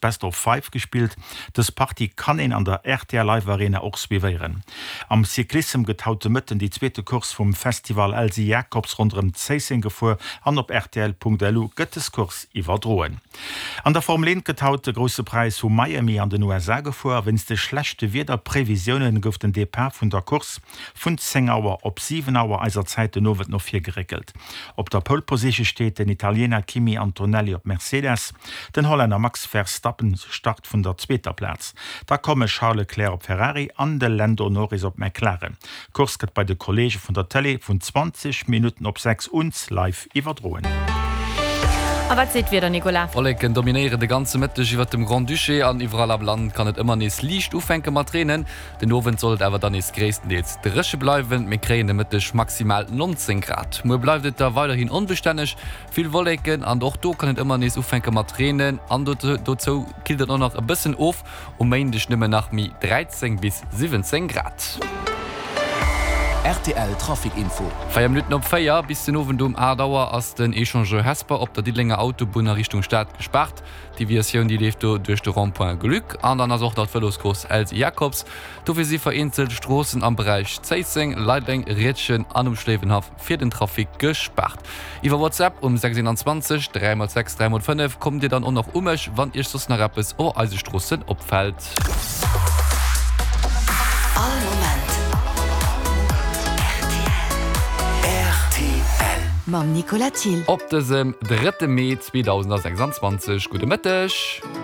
Best of Five gespillt. Dës Partie kann een an der rtl Live Arena och suivéieren. Am Cyclissem gëtt haut de Mëtten déi zweete Course vum Festival Elsy Jacobs ronderëm Zéisseng gefuer an op rtl.lu gëtt des Course iwwerdroen. An der Formel 1 gëtt haut de Grousse Präis vu Miami an den USA gefuer a wéinst de schlechte Wiederprevisiounen gouf den Depart vun der Course vun 10 Auer op 7 Auer eiser Zäit den Owend no vir geréckelt. Op der Pole Position steet den Italiener Kimi Antonelli op Mercedes. Den Hollänner Max Verstappen start vun der zweeter Plaz. Da komme Charles Leclerc op Ferrari an de Lando Norris op McLaren. D'Course gëtt bei de Kolleege vun der Tëlee vun 20 Minutten op 6 uns live iwwerdroen. A wat seet d'Wieder, Nicolas? Wolleken dominéieren de ganze Mëtteg iwwert dem Grand-Duché an iwwerall am Land kann et ëmmer nees liicht ufänke mat reenen. Den Owend soll et awer dann nees gréisstendeels dréche bleiwen, mir kréien de Mëtteg maximal 19 Grad. Muer bleift et da weiderhin onbestänneg, vill Wolleken an och do kann et ëmmer nees ufänke mat reenen an dozou killt et och nach e bëssen of. Um Méindeg nëmmen nach méi 13 bis 17 Grad. Rtl Trafic Info. 4 Minutten op 4, Bis den Owend um 8 Auer ass den Echangeur Hesper op der Diddelenger Autobunn a Richtung Stad gespaart. D'Deviatioun déi leeft do duerch de Rond-point Gluck an dann ass och nach d'Vëloscourse Elsy Jacobs. Dofir si vereenzelt Stroossen am Beräich Zéisseng, Leideleng, Riedgen an um Schléiwenhaff fir den Trafic gespaart. Iwwer WhatsApp um 621 3 x 6 3 x 5 kommt dir dann och nach u mech, wann iech soss nach eppes o eise Stroossen opfält. All Moment rtl. Mam Nicolas Thill. Op dësem drëtte Mee 2026. Gudde Mëtteg.